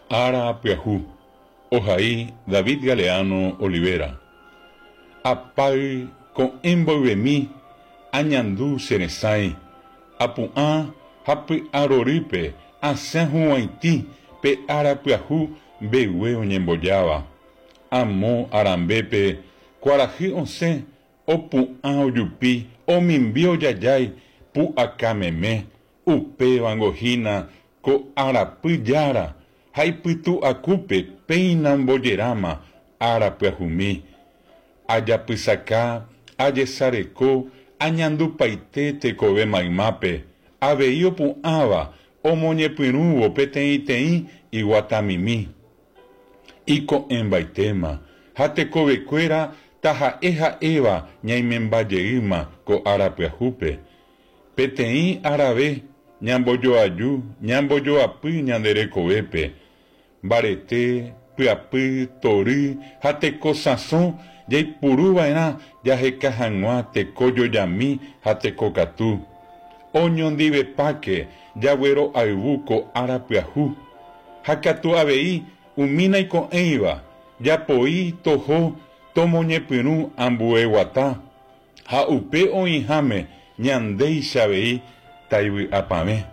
Ára pyahu, ohai David Galeano Olivera. Apáy ko'ẽ mboyvemi añandu che resãi, apu'ã ha py'arorýpe asẽ huguãitĩ pe ára pyahu mbegue oñembojáva. Amo arambépe kuarahy osẽ opu'ã ojupi omimbi ojajái pu'aka meme, Upévango hína ko arapy Jára ha ipytu akúpe péina ombojeráma ára pyahumi. Ajapysaka, ajesareko, añandupaite tekove maymápe, avei opu'ãva omoñepyrũvo peteĩteĩ iguatamimi. Iko'ẽmbaitéma, ha tekovekuéra taha'e ha'éva ñaimemba jeýma ko ára pyahúpe. Peteĩ arave ñambojoaju ñambojoapy ñande rekovépe, mbarete, pyapy, tory ha teko sãso jaipuru va'erã jaheka hag̃ua teko jojami ha teko katu. Oñondivepáke jaguero'ayvu ko ára pyahu. Ha katu avei umi naiko'ẽiva, japoi toho tomoñepyrũ ambue guata. Ha upe oĩháme ñandéicha avei taivy'apavẽ.